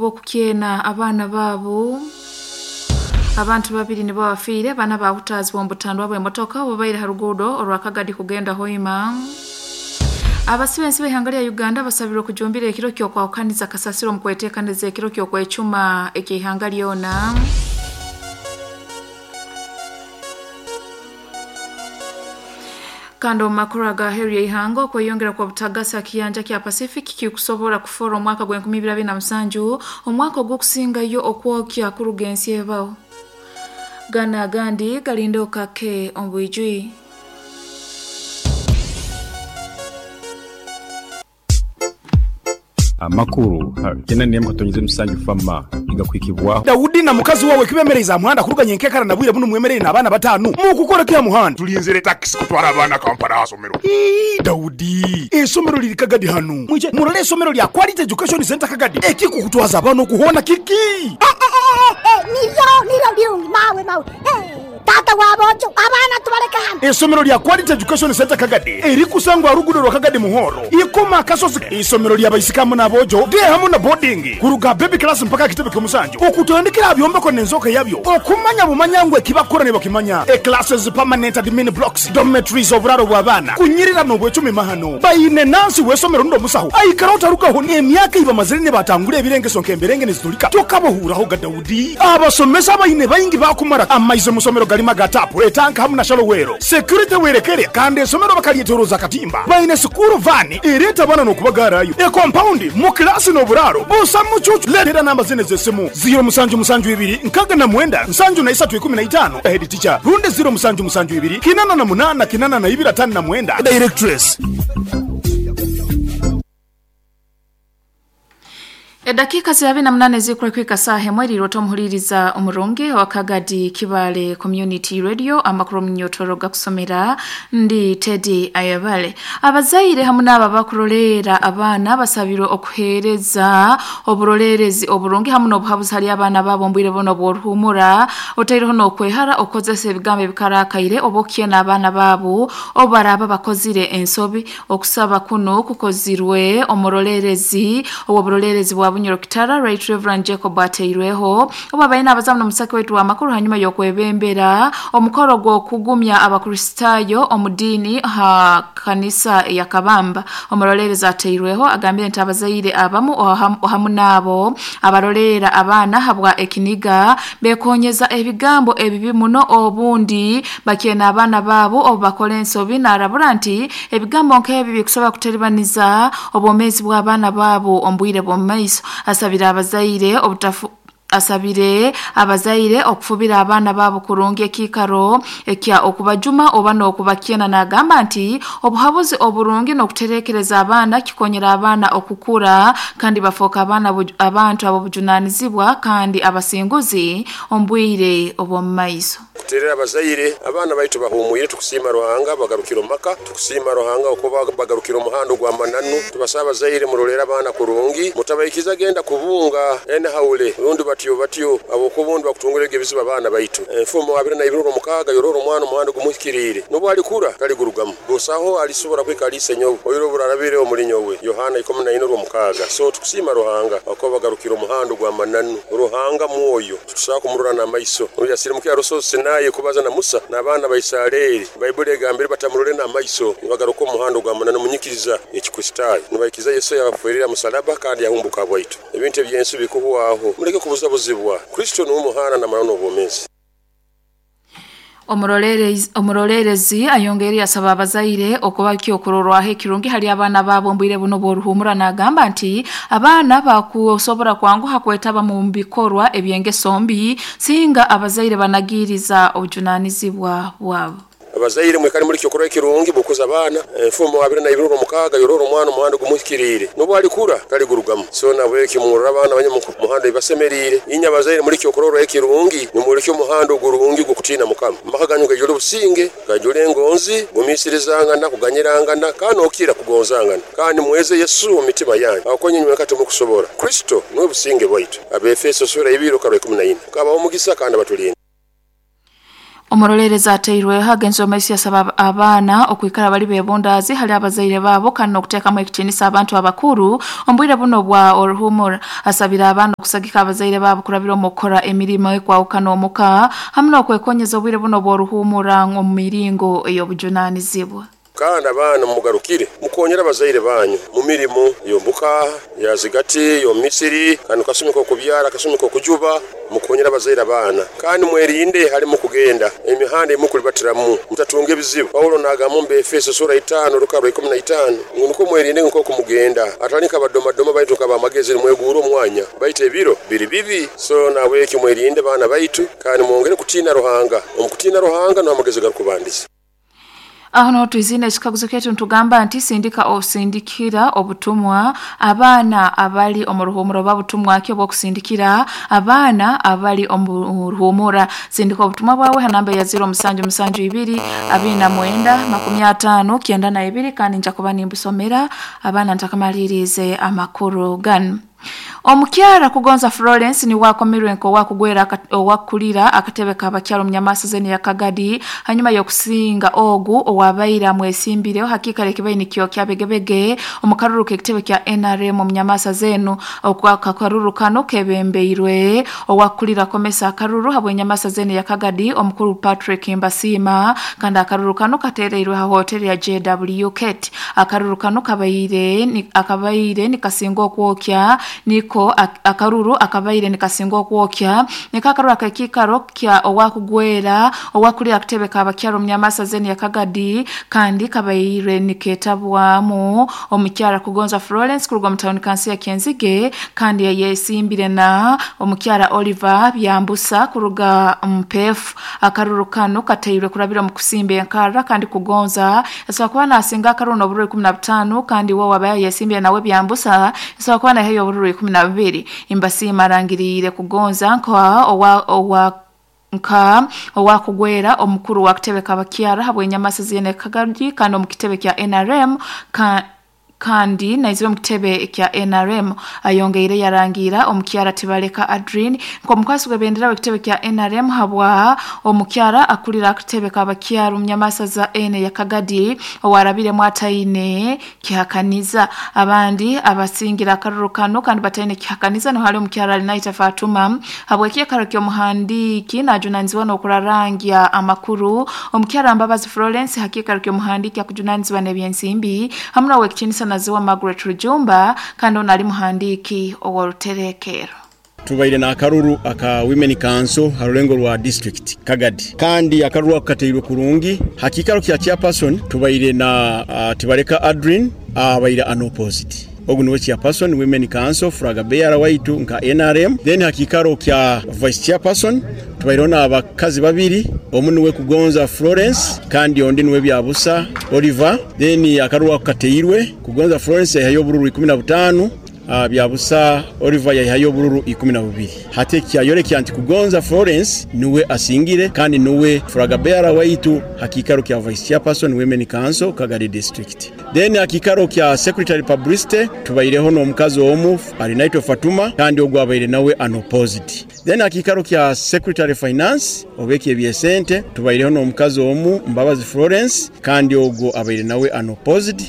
oba okukyena abaana baabo. Abantu babiri nibo bafiire, bana baahutaazibwa omu butandwa bw'emotoka obubaire ha ruguudo orwa Kagadi kugenda Hoima. Abasibe ensi b'eihanga lya Uganda basabirwe kujumbira ekiro ky'okwahukaniza kasasiro omu kweteekaniza ekiro ky'okwecuma eky'eihanga lyona. Kandi omu makuru ag'aheeru y'eihanga, okweyongera kw'obutagasi ha kiyanja kya Pacific kikusobora kufoora omwaka gwa 2027 omwaka ogw'okusingayo okwokya kuruga ensi ebaho. Ganu agandi galinde okake omu bwijwire. Amakuru ha kyenda n'emwe katonyeza emisanju FAMA nigakuhikibwaho. Daudi na mukazi wawe kibemereize aha muhanda kuruga nyenkekara na bwire bunu mwemereire n'abaana batanu mukukora ki aha muhanda? Tulinzire takisi kutwara abaana Kampala aha somero. Ii, Daudi, eisomero liri Kagadi hanu. Mwije murole eisomero lya Quality Education Centre Kagadi. Ekikukutwaza abaana okuhoona kiki? Eh, eh, eh, eh, nibyo, nibyo birungi, mawe, mawe. Eh. Taata wa boojo, abaana tubaleke hano. Eisomero lya Quality Education Centre Kagadi erikusangwa aha luguudo rwa Kagadi Muhoro, Ikoma Akasozi. Eisomero lya baisiki hamu n'aboojo, day hamu na boarding, kuruga aha baby class mpaka aha kitebe ky'omusanju, okutandikira aha byombeko n'enzooka yabyo, okumanya bumanya ngu eki bakukora nibakimanya, e classes, permanent admin blocks, dormitories, oburaaro bw'abaana, kunyirira n'obwecumi mahano. Baine nansi w'eisomero rundi omusaho aikara otarugaho n'emyaka ei bamazire nibatangura ebirengeso nk'emberenge nizitulika tokabahuurahoga. Daudi. Abasomesa abaine baingi baakumara amaizi omu somero garimu aga taapu, etanka hamu na shallow well. Security werekere kandi esomero bakaryetoroza akatimba. Baine sikuuru vaani ereeta abaana n'okubagaarayo. Ekompaundi, mu kilaasi n'oburaaro busa mucuucu. Leetera namba zinu ez'esimu, ziiro musanju musanju ibiri nkaga na mwenda nsanju na isatu ikumi na itaano, Head teacher, rundi ziiro musanju musanju ibiri kinana na munaana kinana na ibiri atano na mwenda, Directress. Edakiika ziri abiri na munaana ezirikura kuhika saaha emwe eriirwe otomuhuriiriza omurungi owa Kagadi Kibaale Community Radio amakuru omunyotoro gakusomera ndi Teddy Ayebare. Abazaire hamu n'abo abakuroleera abaana basabirwe okuheereza oburoleerezi oburungi hamu n'obuhabuzi hali abaana baabo omu bwire bunu obw'oruhuumura otaireho n'okwehara okukozesa ebigambo ebikaraakaire oba okukyena abaana baabo obu baraaba bakozire ensobi. Okusaba kunu kukozirwe omuroleerezi ow'oburoleerezi bwa Bunyoro Kitara, Right Rev. Jacob Ateirweho, obu abaire naabaza n'omusake waitu w'amakuru hanyuma y'okwebembera omukoro gw'okugumya Abakristaayo omu diini ha kanisa ya Kabamba. Omuroleerezi Ateirweho agambire nti abazaire abamu hamu n'abo abaroleera abaana habwa ekiniga bekonyeza ebigambo ebibi muno obundi Bakyena abaana baabo obu bakora ensobi. Naarabura nti ebigambo nk'ebi bikusobora kuteribaniza obwomeezi bw'abaana baabo omu bwire bw'omu maiso. Asabire abazaire obutafu Asabire abazaire okufubira abaana baabo kurungi ekiikaro ekya okubajuma oba n'okubakyena. Naagamba nti obuhabuzi oburungi n'okuterekereza abaana kikonyera abaana okukura kandi bafooka abaana abantu ab'obujunanizibwa kandi abasinguzi omu bwire obw'omu maiso. Kuterera abazaire, abaana baitu bahumwire tukusiima Ruhanga bagarukire omu maka. Tukusiima Ruhanga okuba bagarukire omuhanda ogw'amananu. Tubasaba abazaire murolere abaana kurungi, mutabaikiza genda kubunga enhaule rundi batyo batyo habwokuba obundi bakutungura ebizibu abaana baitu. Enfumo abiri na ibiri orwomukaaga yorora omwana omuhanda ogumuhikiriire, nobu alikura taligurugamu. Busaho alisobora kuhika hali Isenyowe oira oburarabire omuli nyowe. Yohana 14 orwomukaaga. So tukusiima Ruhanga habwokuba bagarukire omuhanda ogw'amananu. Ruhanga mwoyo. Titusobora kumurora n'amaiso. Obu yasirimukire ha Rusozi Sinai kubaza na Musa n'abaana ba Isaleri, Baibuli egambire batamurole n'amaiso, nibagaruka omu muhanda ogw'amananu omu nyikiriza y'Ekikristaayo, nibaikiriza Yesu eyabaferiire ha musalaba kandi yahumbuka habwaitu. Ebintu eby'ensi bikuhwaho. Muleke kubuzabuzibwa. Kristo nuwe muhanda n'amananu n'obwomeezi. Omuroleerezi ayongeire yasaba abazaire okuba ekyokurorwaho ekirungi hali abaana baabo omu bwire bunu obw'oruhuumura naagamba nti abaana bakusobora kwanguha kwetaba mu bikorwa eby'engeso mbi singa abazaire banagiiriza obujunanizibwa bwabo. Abazaire mwikare muli kyokurorwaho ekirungi bw'okukuza abaana. Enfumo 29 Yorora omwana omu muhanda ogumuhikiriire, n'obu alikura taligurugamu. So nahabweki mworore abaana banyu omu muhanda ebibasemeriire. Inywe abazaire muli kyokurorwaho ekirungi, nimwolekya omuhanda ogurungi ogw'okutiina Mukama. Amaka ganyu gaijule obusinge, gaijule engonzi, gumiisirizangana, kuganyirangana, kandi n'okukira kugonzangana. Kandi mweze Yesu omu mitima yanyu, ahabw'okuba inywe inywenka timurukusobora. Kristo nuwe businge bwaitu. Abeefeso sura ibiri okarwa 14. Mukama abahe omugisa kandi abatulinde. Omuroleerezi ateirweho agenzire omu maiso yasaba abaana okwikara bali bebundaazi hali abazaire baabo kandi n'okuteekamu ekitiinisa abantu abakuru omu bwire buno obwa oruhumura. Asabire abaana okusagika abazaire baabo kurabira omu kukora emirimo ekwahukana omuka hamu n'okwekonyeza obwire buno obw'oruhumura omu miringo ey'obujunanizibwa. Kandi abaana mumugarukire, mukonyere abazaire banyu mu mirimo y'omuka, ya zigati, y'omu misiri, kanu kasumi k'okubyara, kasumi k'okujuba, mukonyere abazaire abaana. Kandi mwerinde hali mukugenda, emihanda ei mukulibatiramu, mutatunga ebizibu. Paulo naagamba omu Baefeso sura itaano orukarra rwa 15 ngu nukwo mwerinde nk'oku mugenda, hatali nk'abadomadoma baitu nk'ab'amagezi, nimweguura omwanya, baitu ebiro biri bibi. So nahabwekyo mwerinde baana baitu, kandi mwongere kutiina Ruhanga. Omu kutiina Ruhanga nuho amagezi garukubandiza. Aho niho twiziine ekikaguzo kyaitu nitugamba nti sindika osindikira obutumwa abaana abali omu ruhumura oba butumwa ki obw'okusindikira abaana abali omu ruhumura. Sindika obutumwa bwawe ha namba eya 0772 29 50 92 kandi nja kuba nimbusomera abaana ntakamaliriize amakuru ganu. Omukyara Kugonza Florence niwe akomirwe nk'owakugwera owakukulira akatebe k'abakyara omu Nyamaasa zenu ya Kagadi hanyuma y'okusinga ogu owabaire amwesimbireho hakiikaro ekibaire nikyokya Begebege omu karuru k'ekitebe kya NRM omu Nyamaasa zenu. Akaruru kanu kebembeirwe owakukulira Komesa akaruru habw'Enyamaasa zenu ya Kagadi omukuru Patrick Mbasiima kandi akaruru kanu katereirwe ha hoteri ya JW Kate. Akaruru kanu kabaire akabaire nikasinga okwokya niko akaruru akabaire nikasinga okwokya niko akaruru ak'ekiikaro kya owakugwera owakulira akatebe k'abakyara omu Nyamaasa zenu ya Kagadi kandi kabaire niketabwamu omukyara Kugonza Florence kuruga omu tawuni kanso ya Kyenzige kandi yayesimbire na omukyara Oliver Byambusa kuruga Mpefu. Akaruru kanu kateirwe kurabira omu kusimba enkarra kandi Kugonza Asobola kuba naasinga akaruru n'obururu 15 kandi we owaabaire ayesimbire nawe Byambusa asobola kuba naihayo obururu 12. Mbasiima arangiriire Kugonza nka owa owa nka owakugwera omukuru wa kitebe k'abakyara habw'enyamasa ziine Kagadi kandi omu kitebe kya NRM ka Kandi naizire omu kitebe kya nrm. Ayongeire yarangiira omukyara Tibaleka Adrine nk'omukwasi gw'ebendera w'ekitebe kya nrm habwa omukyara akulira akatebe k'abakyara omu nyamasaza enu eya Kagadi owarabiremu ataine kihakaniza. Abandi abasingire akaruru kanu kandi bataine kihakaniza niho hali omukyara Alinaita Fatuma habw'ekiikaro ky'omuhandiiki najunanizibwa n'okurarangya amakuru, omukyara Mbabazi Florence ha kiikaro ky'omuhandiiki akujunanizibwa n'ebyensimbi hamu n'Owekitinisa Naziwa Margaret Rujumba kandi onu ali muhandiiki ow'oruterekerro. Tubaire n'akaruru aka Women Council ha rulengo rwa district Kagadi kandi akaruru ako kateirwe kurungi. Ha kiikaro kya Chairperson tubaire na Tibaleka Adrine abaire unopposed. Ogu niwe Chairperson Women Council Flag Bearer waitu nka nrm. Then ha kiikaro kya Vice Chairperson Tubaireho n'abakazi babiri, omu niwe Kugonza Florence kandi ondi niwe Byabusa Oliver. Then akaruru ako kateirwe, Kugonza Florence yaihayo obururu 15, Byabusa Oliver yaihayo obururu 12. Hati eki kyayorekya nti Kugonza Florence niwe asingire kandi niwe flag bearer waitu ha kiikaro kya Vice Chairperson Women Council Kagadi District. Then aha kiikaro kya Secretary Publicity tubaireho n'omukazi omu Arinaitwe Fatuma kandi ogu abaire nawe unopposed. Then aha kiikaro kya Secretary Finance oba eky'eby'esente tubaireho n'omukazi omu Mbabazi Florence kandi ogwo abaire nawe unopposed.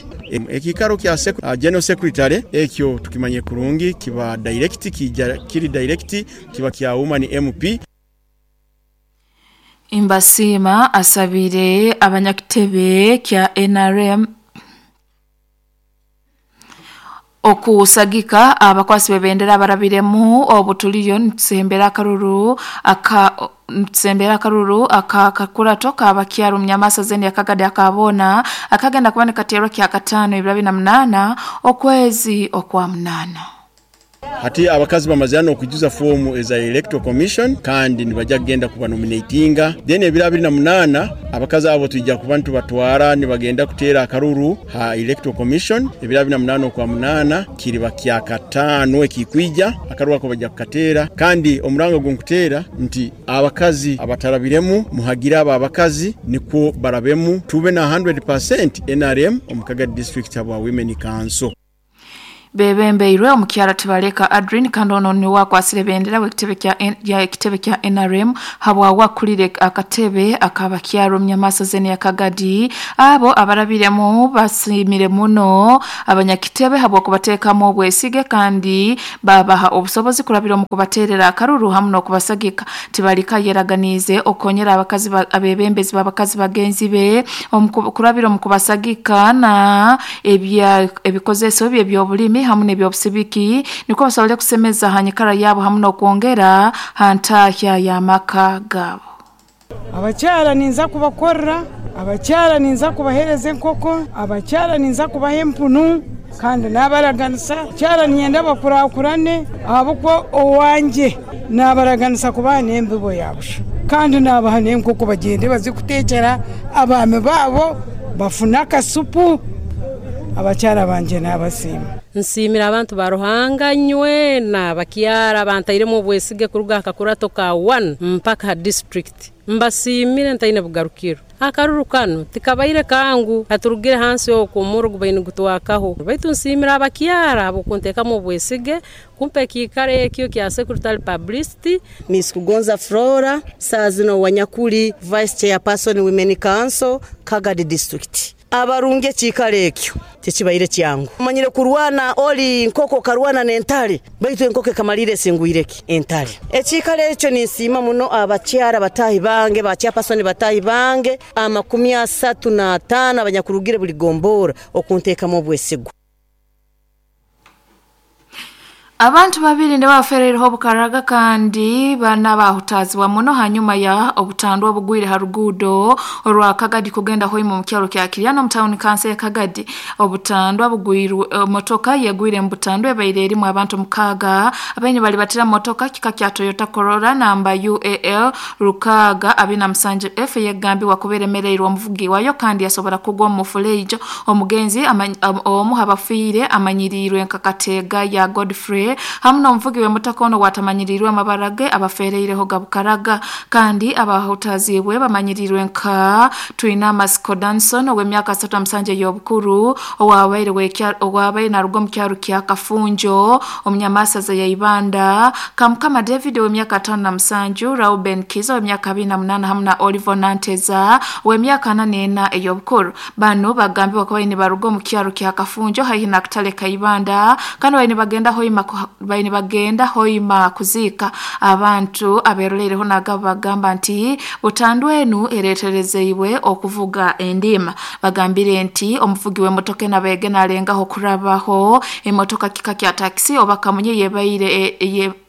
Ekiikaro kya General Secretary ekyo tukimanyire kurungi kiba direct kiija kiri direct kiba kya Woman MP. Mbasiima asabire abanyakitebe kya nrm Okusagika abakwasi b'ebendera abarabiremu obu tuliyo nitusembera akaruru aka nitusembera akaruru aka kakurato k'abakyara omu Nyamaasa zenu ya Kagadi aka boona akagenda kuba nikateerwa Kyakataano ebiro abiri na munaana okwezi okwa munaana. Hati abakazi bamazire n'okwijuza foomu eza Electoral Commission kandi nibaija kugenda kubanominatinga. Then ebiro 28 abakazi abo twija kuba nitubatwara nibagenda kuteera akaruru ha Electoral Commission. Ebiro 28 okwa munaana kiriba Kyakataano ekikwija, akaruru ako baija kukateera. Kandi omuranga ogu nkuteera nti abakazi abatarabiremu muhagire abo abakazi nikwo barabemu tube na 100% nrm omu Kagadi District habwa Women Council. Bebembeirwe omukyara Tibaleka Adrin kandi ono niwe akwasire bendera w'ekitebe kya ya ekitebe kya NRM habwa wakulire akatebe akabakyara omunyamaso zene ya Kagadi. Abo abarabiremu basimire muno abanyakitebe habwa kubateekamu obwesige kandi babaha obusobozi kurabira omu kubateerera akaruru hamu n'okubasagika. Tibaleka yeraganiize okukonyera abakazi abebembezi b'abakazi bagenzi be kurabira omu kubasagika na ebikozeso bye eby'obulimi hamu n'eby'obusibiki nikwo basobole kusemeza ha nyikara yaabo hamu n'okwongera ha ntahya y'amaka gaabo. Abakyara ninza kubakorera, abakyara ninza kubahereza enkoko, abakyara ninza kubaha empunu kandi nabaraganisa. Abakyara niinyenda bakurakurane ahabw'okuba owangye nabaraganisa kubaha n'embibo ya busha kandi nabaha n'enkoko bagyende baze kutekyera abaami baabo bafune akasupu. Abakyara bangye nabasiima. Nsiimire abantu ba Ruhanga nywena abakyara abantairemu obwesige kuruga aha kakurato ka 1 mpaka aha disiturikiti. Mbasiimire ntaine bugarukiro. Akaruru kanu tikabaire kangu, katurugire hansi okwo omurro gubaire nigutwakaho. Baitu nsiimire abakyara ahabw'okunteekamu obwesige kumpa ekiikaro ekyo kya Secretary Publicity. Miss Kugonza Flora, saaha zino Wanyakuli Vice Chairperson Women Council, Kagadi District. Abarungi ekiikaro ekyo tikibaire kyangu. Omanyire kurwana ori nkoko okarwana n'entare, baitu enkoko ekamalirra esingwire ki? Entare. Ekiikaro ekyo ninsiima muno abakyara bataahi bange, ba chairperson bataahi bange 35 abanyakurugire buli gomborra okunteekamu obwesigwa. Abantu babiri nibo bafereireho obukaraga kandi bana bahutaazibwa muno hanyuma ya obutandwa obugwire ha ruguudo orwa Kagadi kugenda Hoima omu kyaro kya Kiryana omu tawuni kanso ya Kagadi. Obutandwa bugwirwe motoka yegwire mu butandwa ebaire erimu abantu 6 abaine bali batira motoka kika kya Toyota Corolla namba UAL 627F eyegambibwa kuba eremereirwe omuvugi wayo kandi yasobora kugwa omu mufuleijo. Omugenzi omu abafiire amanyiriirwe nka Kateega ya Godfrey hamu n'omuvugi w'emotoka ono watamanyiriirwe amabara ge abafereireho gabukaraga kandi abahutaziibwe bamanyiriirwe nka Twinamasiko Danson ow'emyaka 37 ey'obukuru owabaire naruga omu kyaro kya Kafunjo omunyamasaza ya Ibanda, Kamukama David ow'emyaka 57, Rauben Kiza ow'emyaka 28 hamu na Oliver Nanteza ow'emyaka 44 ey'obukuru. Bano bagambibwa kuba nibaruga omu kyaro kya Kafunjo haihi na Katale ka Ibanda kandi baine bagenda Hoima kuziika. Abantu aberoleireho nagabo bagamba nti butandwa enu ereeterezeibwe okuvuga endiima. Bagambire nti omuvugi w'emotoka enu abaire nalengaho kurabaho emotoka kika kya takisi oba kamunye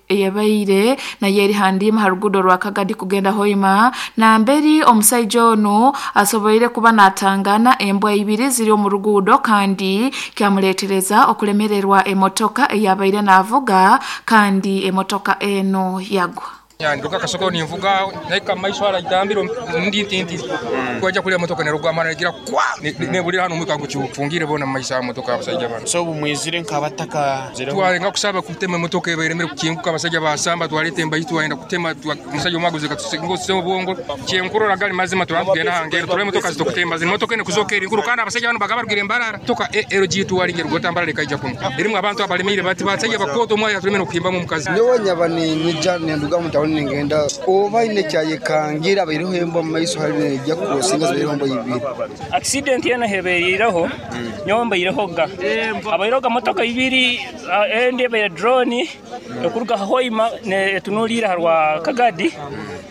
yebaire nayo eri ha ndiima ha ruguudo rwa Kagadi kugenda Hoima, namberi omusaija onu asoboire kuba natangana embwa ibiri ziri omu ruguudo kandi kyamuleetereza okulemererwa emotoka eyabaire navuga kandi emotoka eno yagwa. Nduka kasoko ninvuga naika maisho ala itambiro ndi tinti kwaja kulya motoka nerugwa mana gira kwa nebulira hano mwika nguchufungire bona maisha ya motoka abasajja bano. So bumwizire nkabataka twarenga kusaba kutema motoka eberemere kukinguka abasajja basamba twalete mbayitu waenda kutema musajja omwaguze katusingo semo bongo kyenkurora gali mazima twagenda hangero tule motoka zitokutemba zino motoka ene kuzoka eri nkuru kandi abasajja bano bagaba rugire mbarara toka LG twalinge rugota mbarara kaija kuno erimu abantu abalemire bati basajja bakoto mwaya tulemene kuhimba mu mukazi. Nyowe nyaba ni nyija nenduga mu ningenda oba ine kyayekangira abaireho embwa mu maiso hari nejja kusinga zibaireho embwa ibiri. Accident yena hebereiraho nyowe mbaireho ga abaireho ga motoka ibiri endi ebaire drone ekuruga Hoima etunulira harwa Kagadi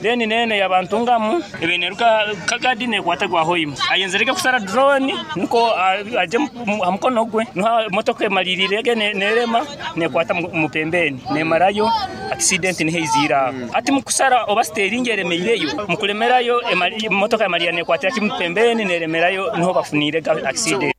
then nene yabantungamu ebeneruka Kagadi nekwata gwa Hoima ayenzereke kusara drone niko aje amukono gwe no motoka emalirirege nerema nekwata mupembeni nemarayo accident nihezira. Ati mukusara oba steering eremeireyo mukulemerayo motoka emaliya nekwatira kimupembeni neremerayo niho bafunire accident.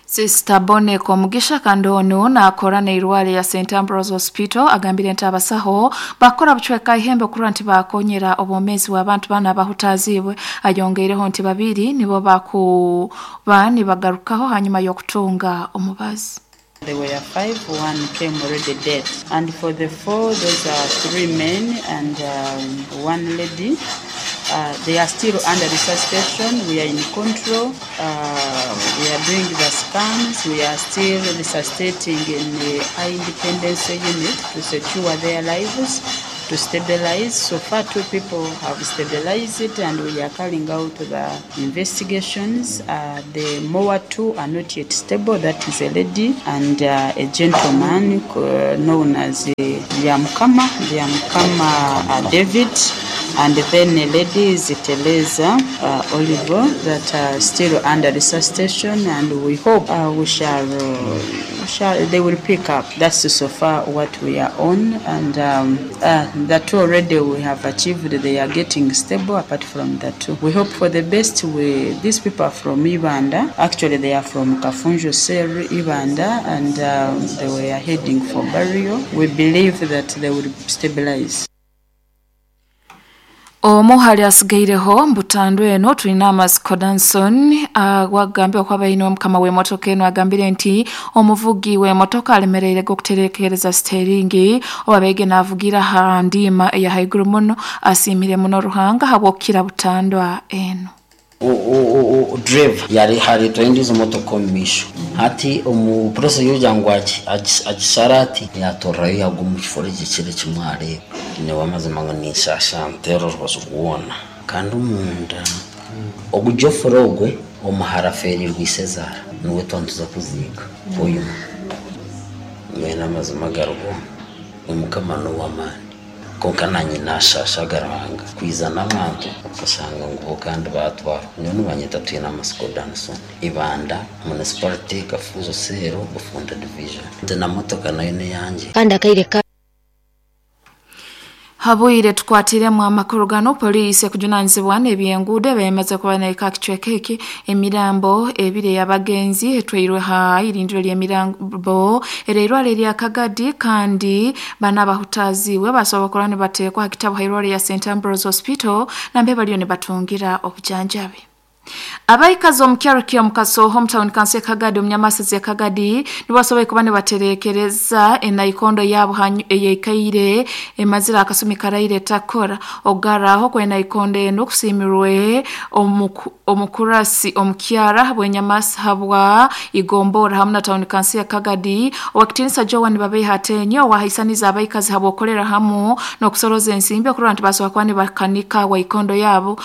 Sister Bonne Komugisha kandi ono nakora n'eirware ya St Ambrose Hospital agambire nti abasaho bakora bucweka ihembe kurora nti bakonyera obwomezi bw'abantu bana abahutaziibwe. Ayongeireho nti babiri nibo bakuba nibagarukaho hanyuma y'okutunga omubazi. There were 5, 1 came already dead. And for the 4, those are 3 men and 1 lady. They are still under resuscitation, we are in control, we are doing the scans, we are still resuscitating in the high independency unit to secure their lives, to stabilize. So far two people have stabilized and we are carrying out the investigations. The more two are not yet stable, that is a lady and a gentleman known as Byamukama, Byamukama David and then a lady is Teresa Oliver that are still under resuscitation and we hope we shall, we shall, they will pick up. That's so far what we are on and the two already we have achieved, they are getting stable apart from the two. We hope for the best. We, these people are from Ibanda, actually they are from Kafunjo Cell, Ibanda and they were heading for burial. We believe that they will stabilize. Omu hali asigaireho mbutandu eno tulina Amasiko Danson wagambye okwaba ino mukama w'emotoka eno agambire nti omuvugi w'emotoka alemereire okuterekereza siteringi oba bege navugira ha ndiima eya haiguru muno asiimire muno Ruhanga habwokukira butandwa eno. Driver yari hari twendizo motoka omu maisho hati omu process yokugira ngu agisara ati yatorayo yagwa omu kifo ekyo kimwe areeba nyowe amazima ngu ninshasha nteera orubaju rwona kandi omunda ogu Geoffrey ogwe omuhara aferirwe isezaara niwe twantuza kuziika oyuma mbwenu amazima gariho omukama n'owamaani konka nanye nashashaga Ruhanga kwiza n'abantu okashanga ngu bo kandi batwara nyowe nibanyeta Twine Amasiko Danson Ibanda Municipality Kafunzo Cell Bufunda Division ndi na motoka nayo n'eyangye. Kandi akaire ka Habwire tukwatiremu amakuru gano poliisi ekujunanizibwa n'ebyenguudo bemaze kuba naika kicweka eki emirambo ebiri ey'abagenzi etwairwe ha irindiro ly'emirambo ereirwaro erya Kagadi kandi bana abahutaziibwe basobola kuba nibateekwa ha kitabu ha irwaro ya St Ambrose Hospital nambe bariyo nibatungira obujanjabi. Abaikazi omu kyaro kya Mukasoho omu town council Kagadi omu Nyamasazi ya Kagadi nibasobola kuba nibaterekereza enaikondo yabo eyaikaire emazire akasumi karaire takora ogaraho kwenaikondo eno kusiimirwe omukurasi omukyara bwenyamasa habwa igombora hamwe na town council ya Kagadi owakitinisa Joan Babeha Atenyo owahaisaniza abaikazi habwokorera hamu n'okusoroza ensimbi okurora nti basobola kuba nibakanika waikondo yabo.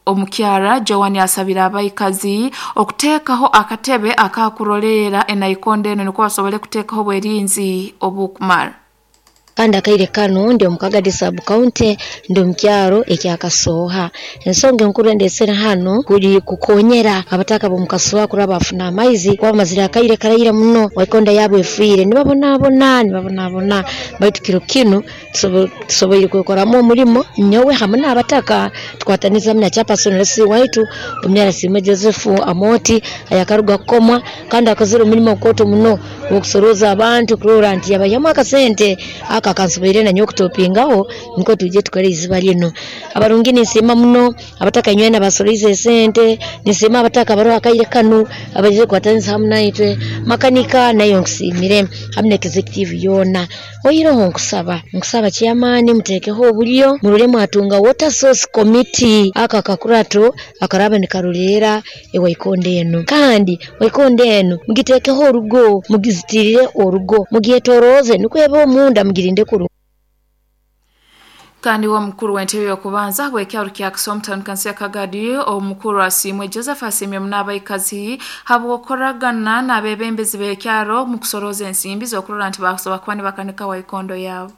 Omukyara Joan asabira abaikazi okuteekaho akatebe akakurolera enaikondo eno niko basobole kuteekaho obwerinzi obukumara. Kandi akaire kano ndi omu Kagadi sub county ndi omu kyaro ekya Kasoha. Ensonga enkuru endesere hano kuri kukonyera abataka b'omu Kasoha kuraba bafuna amaizi kuba bamazire akaire karaire muno waikonda yabo efiire nibabonabona baitu kiro kinu tusoboire kwekoramu omurimo nyowe hamwe n'abataka tukwataniza hamwe na chairperson Lesi waitu Omunyarasiimwe Joseph Amoti ayakaruga kukomwa kandi akozire omurimo mukooto muno okusoroza abantu kurora nti yabaihyamu akasente aka kansoboire nanyowe okutopingaho nikwo twije tukore iziba lino. Abarungi ninsiima muno abataka nywena basoroize esente, ninsiima abataka baroho akaire kanu abaije kukwatanisa hamwe naitwe, makanika nayo nkusiimire hamwe na executive yoona. Oihireho nkusaba chairman muteekeho oburyo murore mwatunga water source committee aka kakurato akaraba nikaroreera ewaikonda eno, kandi waikonda eno mugiteekeho orugo, mugizitirire orugo, mugyetoroze nikwo ebe omunda mugirinde kuru. Kandi wa mukuru w'entebe y'okubanza bw'ekyaro kya Kasoha town council ya Kagadi omukuru Asiimwe Joseph asiimye muno abaikazi habw'okoragana n'abebembezi b'ekyaro mu kusoroza ensimbi z'okurora nti bakusobola kuba nibakanika waikondo yabo.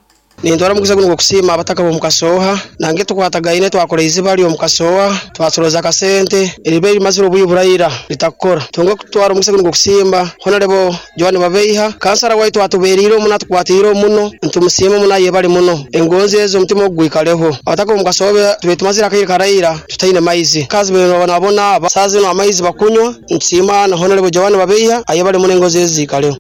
Nindwara omukisa guno gw'okusiima abataka b'omu Kasoha nange tukwatagaine twakora iziba ry'omu Kasoha twasoroza akasente eriba erimazire obwiire buraira ritakukora tunga kutwara omukisa guno gw'okusiima Honorable Joan Babeiha kansara waitu atubeeriire omuno atukwatiire omuno ntumusiime muno ayebare muno engonzi ezo omutima ogwikareho abataka b'omu Kasoha tube tumazire akaire karaira tutaine maizi kazi babonabona aba zino amaizi bakunywa ntusiima na Honorable Joan Babeiha ayebare muno engonzi ezo ziikareho.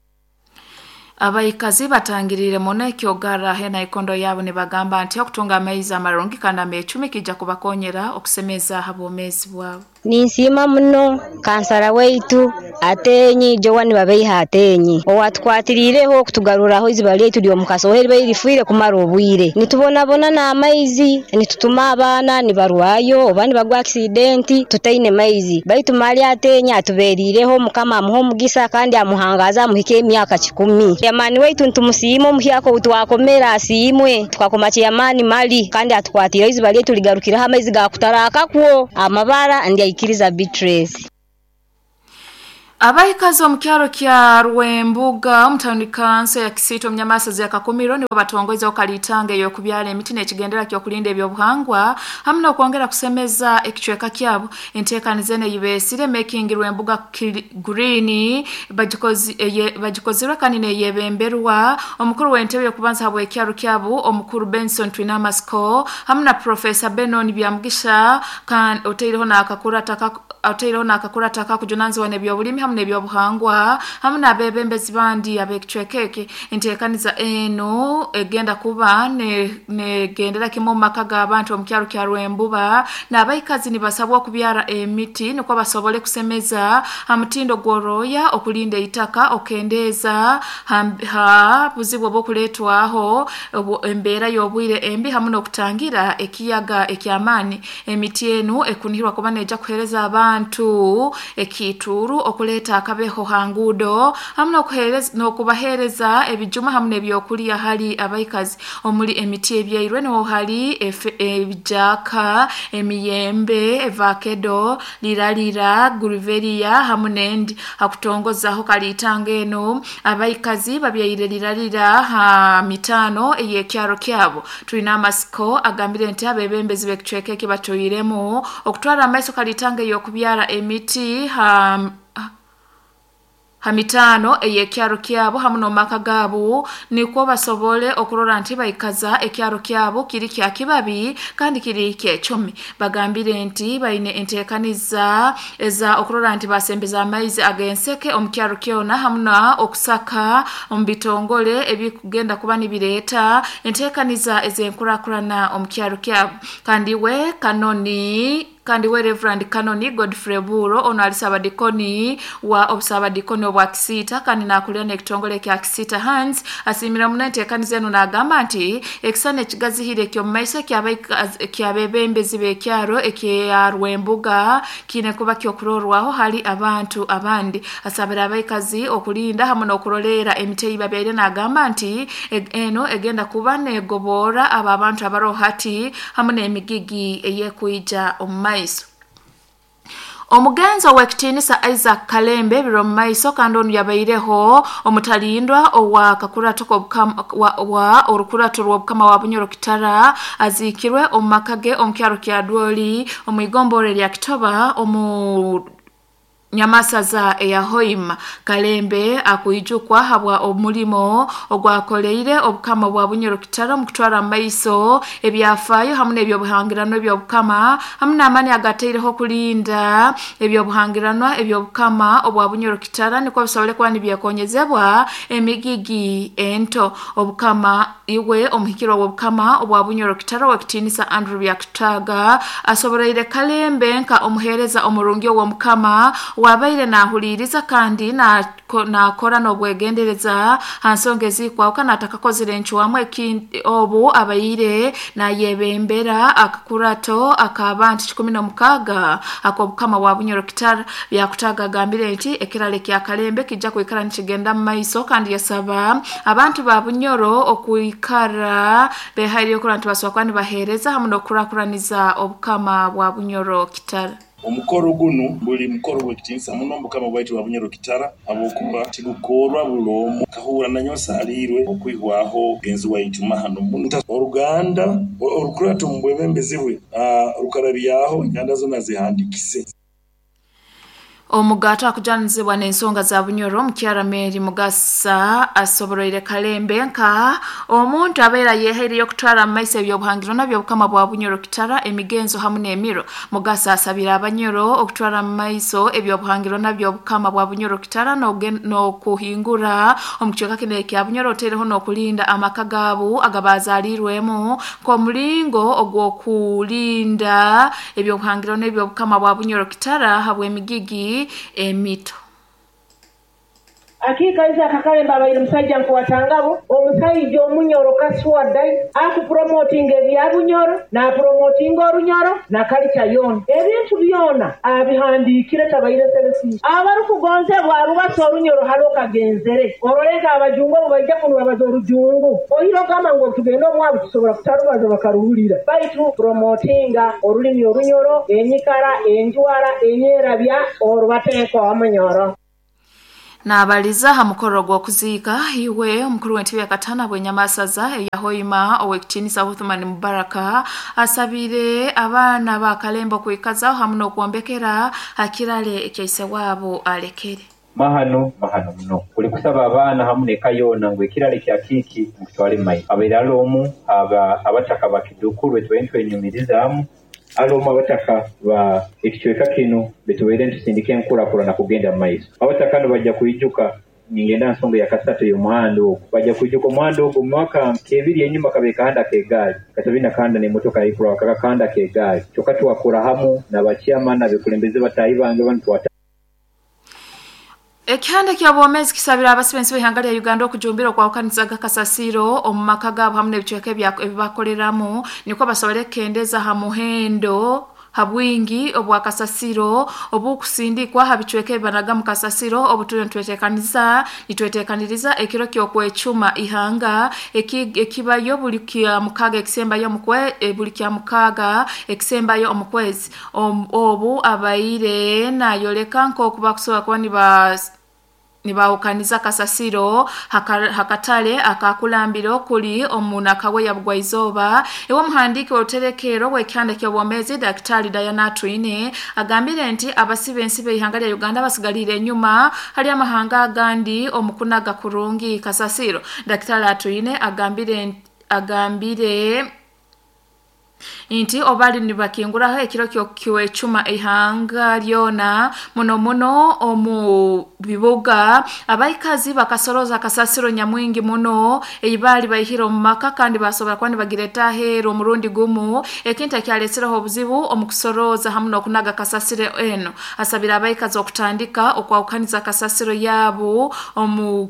Abaikazi batangirire muno ekyogara hena ikondo yabo nibagamba nti okutunga amaizi amarungi kandi amecumi kijja kubakonyera okusemeza habwomeezi bwabo. Ninsiima muno kansara waitu Ateenyi, Joan Babeiha Ateenyi, owatukwatiriireho kutugaruraho eiziba ryaitu ry'omu Kasoha eribaire rifiire kumara obwire. Nitubonabona n'amaizi, nitutuma abaana nibarwayo oba nibagwa akisidenti tutaine maizi. Baitu mali Ateenyi atubeeriireho, Mukama amuhe omugisa kandi amuhangaaze amuhike emyaka kikumi. Ceyamaani waitu nitumusiima omuhyaka ou twakomere asiimwe. Tukakoma ceyamaani mali kandi atukwatiireho eiziba ryaitu rigarukireho amaizi gaakutaraakakwo amabara ndyaikiriza Beatrice. Abaikazi omu kyaro kya Rwembuga omu tawuni kanso ya Kisiita omu nyamasaza ya Kakumiro nibo batongoizeho kalitanga ey'okubyara emiti n'ekigendera ky'okulinda ebyobuhangwa hamu n'okwongera kusemeza ekicweka kyabo. Enteekaniza enu eyibeesire Making Rwembuga Green bagikozirwe kandi neyebemberwa omukuru w'entebe y'okubanza habw'ekyaro kyabu omukuru Benson Twinamasiko hamu na Professor Benon Byamugisha kandi otaireho n'akakurata akakujunanizibwa n'ebyobulimi hamu n'ebyobuhangwa hamu n'abebembezi bandi ab'ekicweka eki. Enteekaniza enu egenda kuba negendera kimu omu maka g'abantu omu kyaro kya Rwembuba n'abaikazi nibasabwa okubyara emiti nukwo basobole kusemeza ha mutindo gw'orooya, okulinda eitaka, okukendeeza ha buzibu obw'okuleetwaho embeera y'obwire embi hamu n'okutangira ekiyaga eky'amaani. Emiti enu ekunihirwa kuba neija kuheereza abantu ekiituuru, okuleeta akabeho ha nguudo hamu n'okubaheereza ebijuma hamu n'ebyokulya hali abaikazi. Omuli emiti ebyairwe nuho hali ebijaaka, emiyembe, evakedo, liralira, guruveriya hamu n'endi. Ha kutongozaho kaliitanga enu, abaikazi babyaire liralira ha mitaano ey'ekyaro kyabo. Twine amasiko, agambire nti abebembezi b'ekicweka eki batoiremu okutwara amaiso kalitanga ey'okubyara emiti ha ha mitaano ey'ekyaro kyabo hamu n'omumaka gaabo nikwo basobole okurora nti baikaza ekyaro kyabo kiri kya kibabi kandi kiri kyecumi. Bagambire nti baine enteekaniza eza okurora nti basembeza amaizi ag'enseke omu kyaro kyona hamu na okusaka omu bitongole ebikugenda kuba nibireeta enteekaniza ez'enkurakurana omu kyaro kyabo. Kandi we Kanoni Kandi we Rev. Kanoni Godfrey Buuro onu ali Saabadikoni wa Obusaabadikoni obwa Kisiita kandi naakulira n'ekitongole ekya Kisiita Hands asiimire muno enteekaniza enu naagamba nti ekisani ekigazihire eky'omu maiso eky'abeebembezi b'ekyaro ekya Rwembuga kiine kuba ky'okurorwaho hali abantu abandi. Asabire abaikazi okulinda hamu n'okuroleera emiti ei babyaire naagamba nti enu egenda kuba negoboora abo abantu abaroho hati hamu n'emigigi ey'ekwija omu maiso. Omugenzi ow'ekitiinisa Isaac Kalembe ebiro omu maiso kandi onu yabaireho omutalindwa owa kakurato wa orukurato rw'obukama wa Bunyoro Kitara aziikirwe omu maka ge omu kyaro kya Dwoli omu igomborra erya Kitoba omu Nyamasaza eya Hoima. Kalembe akwijukwa habwa omulimo ogwakoleire Obukama bwa Bunyoro Kitara omu kutwara omu maiso ebyafaayo hamu n'ebyobuhangiranwa eby'Obukama hamu n'amaani agataireho kulinda ebyobuhangiranwa eby'Obukama obwa Bunyoro Kitara nukwo bisobole kuba nibyekonyezebwa emigigi ento. Obukama Iwe omuhikirwa w'Obukama obwa Bunyoro Kitara ow'ekitiinisa Andrew Byakutaaga asoboroire Kalembe nka omuheereza omurungi ow'Omukama ow'abaire naahuliiriza kandi naakora n'obwegendereza ha nsonga ezikwahukana atakakozire encwamu obu abaire naayebembera akakurato ak'abantu 16 ak'Obukama bwa Bunyoro Kitara. Byakutaaga agambire nti ekiraro ekya Kalembe kiija kwikara nikigenda mu maiso kandi yasaba Abantu ba Bunyoro okwikara behaireyo kurora nti basobora kuba nibaheereza hamu n'okukurakuraniza Obukama bwa Bunyoro Kitara. Omukoro gunu guli mukoro gw'ekitiinisa muno omu Bukama bwaitu bwa Bunyoro Kitara habwokuba tigukoorwa buli omu. Nkahurra nanyowe nsaaliirwe okwihwaho mugenzi waitu mahano muno. Oruganda orukurato omu bwebembezi bwe rukarabyaho enganda zoona zihandiikise. Omugato akujanizibwa n'ensonga za Bunyoro Mukyara Mary Mugasa asoboroire Kalembe nka omuntu abeera yehaireyo okutwara mu maiso ebyobuhangiro nabyobukama bwa Bunyoro Kitara, emigenzo hamu n'emiro. Mugasa asabire Abanyoro okutwara mu maiso ebyobuhangiro nabyobukama bwa Bunyoro Kitara n'okuhingura omu kicweka kinu ekya Bunyoro, otereho n'okulinda amaka gaabo agabazarirwemu nk'omulingo ogw'okulinda ebyobuhangiro n'ebyobukama bwa Bunyoro Kitara habw'emigigi emito. Akiika Isaac Kalembe abaire musaija nkwatangabo, omusaija omunyoro kaswadai, akupromotinga ebya Bunyoro, napromotinga Orunyoro na kalica yoona. Ebintu byona abihandiikire tabaire selfish. Abarikugonzebwa arubasa Orunyoro hali okagenzere orole nka abajungu obu baija kunu babaza Orujungu, oire ogamba ngu obutugenda omwabu tusobora kutarubaza bakaruhurira. Baitu promotinga orulimi Orunyoro, enyikara, enjwara, enyerabya orubateeka omunyoro. Naabaliza aha mukoro gw'okuziika iwe omukuru w'entebe ya katano habw'enyamasaza eya Hoima ow'ekitiinisa Uthman Mubaraka asabire abaana ba Kalembe okwikazaho hamu n'okwombekera ha kirare ekya waabo alekere. Mahano, mahano muno. Kuli kusaba abaana hamu n'eka yoona ngu ekirare kya Kiiki mukitwale mu maiso. Abaire ali omu ha abataka ba Kidukuru betubaire nitwenyumirizaamu, ali omu abataka ba ekicweka kinu betubaire nitusindika enkurakurana kugenda mu maiso. Abataka banu baija kwijuka, ningenda aha nsonga ya kasatu ey'omuhanda ogu, baija kwijuka omuhanda ogu omu mwaka nk'ebiri enyuma kabaire kahanda k'egaari, katabaire na kahanda n'emotoka yaikuraho, kaba kahanda k'egaari. Kyonka twakora hamu n'aba chairman n'abekulembeze bataahi bange banu twata. Ekihanda kya bwomezi kisabira abasibensi b'ihanga lya Uganda okujumbira okwahukanizaga kasasiro omu maka gaabo hamu n'ebicweka ebibakoreramu nikwo basobole kukendeza ha muhendo ha bwingi obwa kasasiro obukusindikwa ha bicweka ebibanaga mu kasasiro. Obu turiyo nitwetekaniriza ekiro ky'okwecuma ihanga ekibayo buli kya mukaaga ekisembayo buli kya mukaaga ekisembayo omu kwezi. Obu abaire nayoleka nk'oku bakusobora kuba nibahukaniza kasasiro hakatale akakulambira okuli omu Nakawe ya Bugwaizooba. Ewe omuhandiiki w'oruterekero w'ekihanda ky'obwomezi Daktari Diana Atwine agambire nti abasibensi b'ihanga lya Uganda basigalire enyuma hali amahanga agandi omu kunaga kurungi kasasiro. Daktari Atwine agambire nti obali nibakinguraho ekiro ky'okwecuma ihanga lyona muno muno omu bibuga, abaikazi bakasoroza kasasiro nyamwingi muno eibaali baihire omu maka kandi basobora kuba nibagireta aheeru omurundi gumu, ekintu ekyaletsireho obuzibu omu kusoroza hamu n'okunaga kasasiro eno. Asabire abaikazi okutandika okwahukaniza kasasiro yaabo omu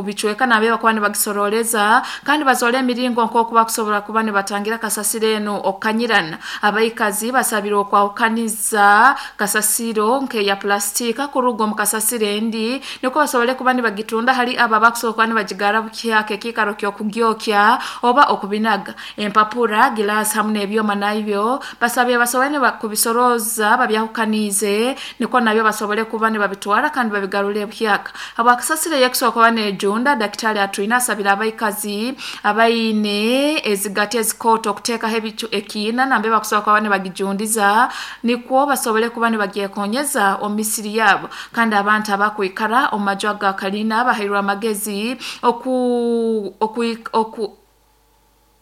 bicweka nambere bakuba nibagisororeza kandi bazole emiringo nk'oku bakusobora kuba nibatangira kasasiro eno okukanyirana. Abaikazi basabire okwahukaniza kasasiro nk'eya pulastika kuruga omu kasasiro endi nikwo basobole kuba nibagitunda hali abo abakusobola kuba nibagigara bukyaka ekiikaro ky'okugyokya oba okubinaga. Empapura, gilaasi hamu n'ebyoma nabyo basabire basobole kubisoroza babyahukaniize nikwo nabyo basobole kuba nibabitwara kandi babigarure buhyaka. Habwa kasasiro ey'ekusobola kuba neejunda, Daktari Atwine asabire abaikazi abaine ezigati ezikooto okuteekaho ekiina nambere bakusobola kuba nibagijundiza nikwo basobole kuba nibagyekonyeza omu misiri yaabo. Kandi abantu abakwikara omu maju aga kalina bahairwe amagezi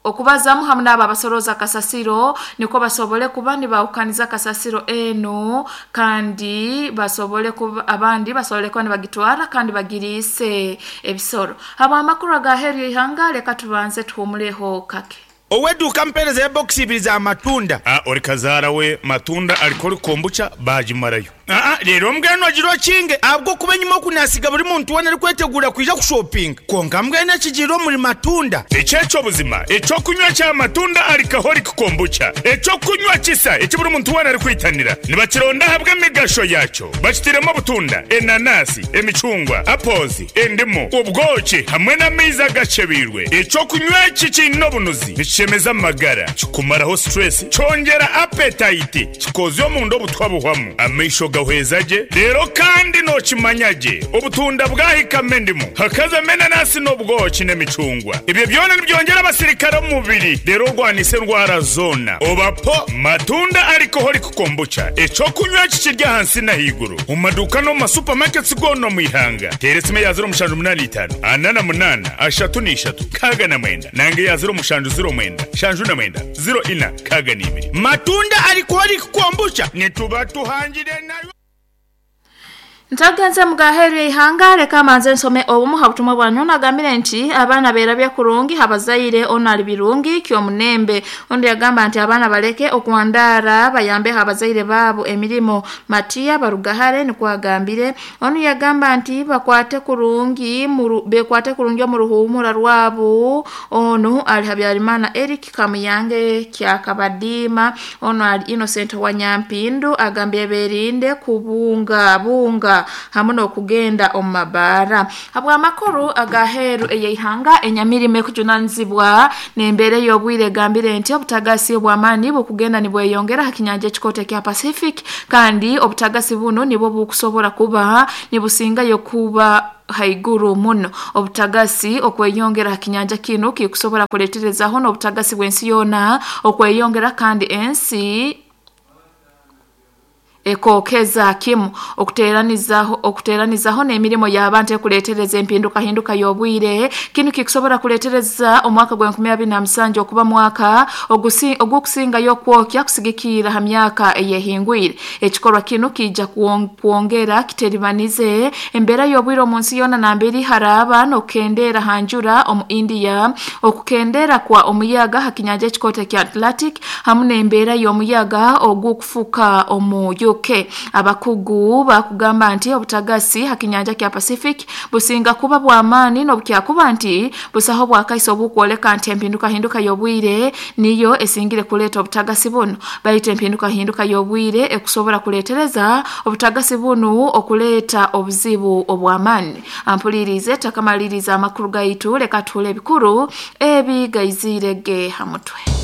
okubazamu hamu n'abo abasoroza kasasiro nikwo basobole kuba nibahukaniza kasasiro enu kandi basobole kuba abandi basobole kuba nibagitwara kandi bagiriise ebisoro. Habw'amakuru agaheeru y'eihanga, leka tubanze tuhumuleho kake. Ow'eduuka ampeereza ya bokisi ibiri za matunda. A Ori kazaara we matunda arikora kombucha baagimarayo. Aa Reero mbwenu ogire okinge ahabw'okuba enyima oku naasiga buri muntu weena arikweteguura kwija kushopinga. Kwonka mbwenu ekigiire omuri matunda. Eki eky'obuzima, eky'okunywa kya matunda alcoholic kombucha, eky'okunywa kisa eki buri muntu weena arikwitanira. Nibakironda ahabw'emigasho yaakyo. Bakitairemu obutunda, enanasi, emicungwa, apples, endimu, obwoki hamwe n'amaizi agakyebeirwe. Eky'okunywa eki kiine obunuzi, nikishemeza amagara, kikumaraho stress, kyongyera appetite, kikoozya omunda obutwa buhwamu, amaisho ga. Nigahweza gye. Reero kandi nookimanya gye, obutunda bwahikamu endimu, hakazamu enanasi n'obwoki n'emicungwa. Ebyo byona nibyongyera abasirikare omu mubiri reero orwanise endwara zoona. Oba po! Matunda Alcoholic Kombucha, eky'okunywa eki kiri ahansi n'ahaiguru omu maduuka n'omu ma supermarkets goona omu ihanga. Teera esimu eya 0785 48 33 69 nanga eya 0709 79 04 62. Matunda Alcoholic Kombucha nituba tuhangire nayo. Ntagenze mugaheru yeihanga leka manze nsome obumu ha butumwa bwanyu nagambire nti abaana berabye kurungi habazaire ono ali birungi kyomunembe ondi yagamba nti abaana baleke okuwandara bayambe habazaire baabo emirimo Matiya Barugahare nikwo agambire onu yagamba nti bakwate kurungi muru, bekwate kurungi omu ruhumura rwabo onu ali Habyarimana Eric Kamuyange Kyakabadima onu ali Innocent Wanyampindu agambye berinde kubunga bunga hamwe n'okugenda omu mabaara habw'amakuru agaheeru eyeihanga enyamirimo ekujunanizibwa n'embeera ey'obwire egambire nti obutagasi obw'amaani bukugenda nibweyongera ha kinyanja ekikoto ekya Pacific kandi obutagasi bunu nibwo bukusobora kuba nibusingayo kuba haiguru muno obutagasi okweyongera ha kinyanja kinu kikusobora kuleterezaho n'obutagasi bw'ensi yoona okweyongera kandi ensi ekokeza kimu okuteranizaho okuteranizaho n'emirimo y'abantu ekuletereza empinduka hinduka y'obwire kinu kikusobora kuletereza omwaka gwa 2027 okuba mwaka ogw'okusingayo okwokya kusigikira ha myaka eyehingwire ekikorwa kinu kijja kwongera kiteribanize embeera y'obwire omu nsi yoona nambere haraba n'okukendera ha njura omu India okukendera kwa omuyaga ha kinyanja ekikoto ekya Atlantic hamu n'embeera y'omuyaga ogw'okufuka omu UK. Abakugu bakugamba nti obutagasi ha kinyanja kya Pacific businga kuba bw'amaani n'obukyakuba nti busaho bwakaiso obukwoleka nti empinduka hinduka y'obwire niyo esingire kuleeta obutagasi bunu baitu empinduka hinduka y'obwire ekusobora kuletereza obutagasi bunu okuleeta obuzibu obw'amaani. Ampulirize takamaliriza amakuru gaitu leka tuhule ebikuru ebi gaiziire ge ha mutwe.